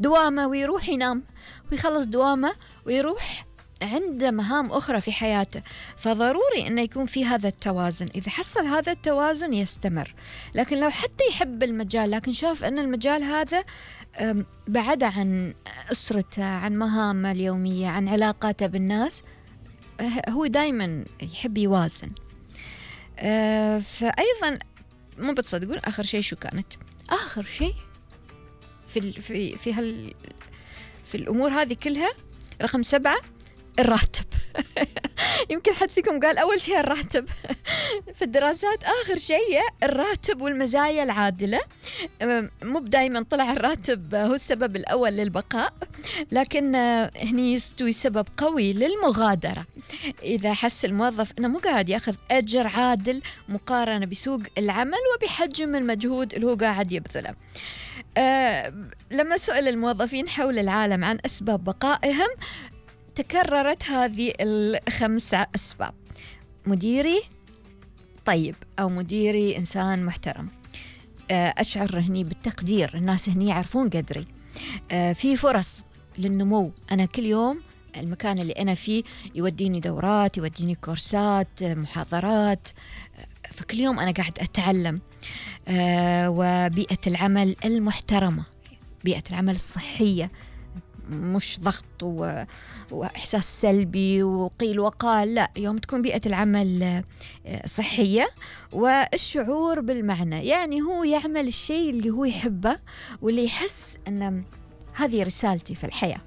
دوامه ويروح ينام ويخلص دوامه ويروح عنده مهام أخرى في حياته. فضروري أنه يكون في هذا التوازن. إذا حصل هذا التوازن يستمر. لكن لو حتى يحب المجال لكن شاف أن المجال هذا بعد عن أسرته، عن مهامه اليومية، عن علاقاته بالناس، هو دايما يحب يوازن. فأيضا مو بتصدقون آخر شيء شو كانت؟ آخر شيء في الأمور هذه كلها رقم 7 الراتب. يمكن حد فيكم قال أول شيء الراتب. في الدراسات آخر شيء الراتب والمزايا العادلة. مو دايما طلع الراتب هو السبب الأول للبقاء، لكن هني يستوي سبب قوي للمغادرة. إذا حس الموظف أنه مو قاعد يأخذ أجر عادل مقارنة بسوق العمل وبحجم المجهود اللي هو قاعد يبذله. لما سئل الموظفين حول العالم عن أسباب بقائهم تكررت هذه ال5 أسباب: مديري طيب، أو مديري إنسان محترم، أشعر هني بالتقدير، الناس هني يعرفون قدري، في فرص للنمو، أنا كل يوم المكان اللي أنا فيه يوديني دورات، يوديني كورسات، محاضرات، فكل يوم أنا قاعد أتعلم. وبيئة العمل المحترمة، بيئة العمل الصحية، مش ضغط وإحساس سلبي وقيل وقال، لا، يوم تكون بيئة العمل صحية والشعور بالمعنى، يعني هو يعمل الشيء اللي هو يحبه واللي يحس أن هذه رسالتي في الحياة.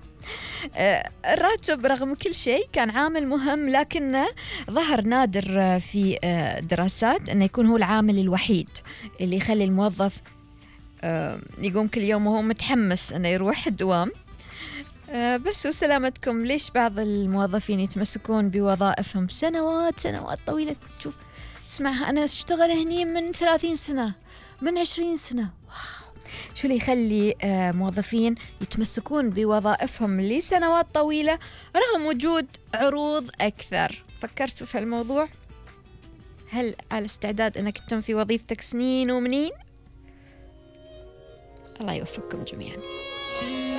الراتب رغم كل شيء كان عامل مهم، لكنه ظهر نادر في دراسات أنه يكون هو العامل الوحيد اللي يخلي الموظف يقوم كل يوم وهو متحمس أنه يروح الدوام. بس وسلامتكم، ليش بعض الموظفين يتمسكون بوظائفهم سنوات طويلة؟ تشوف اسمعها، أنا أشتغل هني من 30 سنة، من 20 سنة، واو. شو اللي يخلي موظفين يتمسكون بوظائفهم لسنوات طويلة رغم وجود عروض أكثر؟ فكرتوا في الموضوع؟ هل على استعداد أنك تتم في وظيفتك سنين ومنين؟ الله يوفقكم جميعا.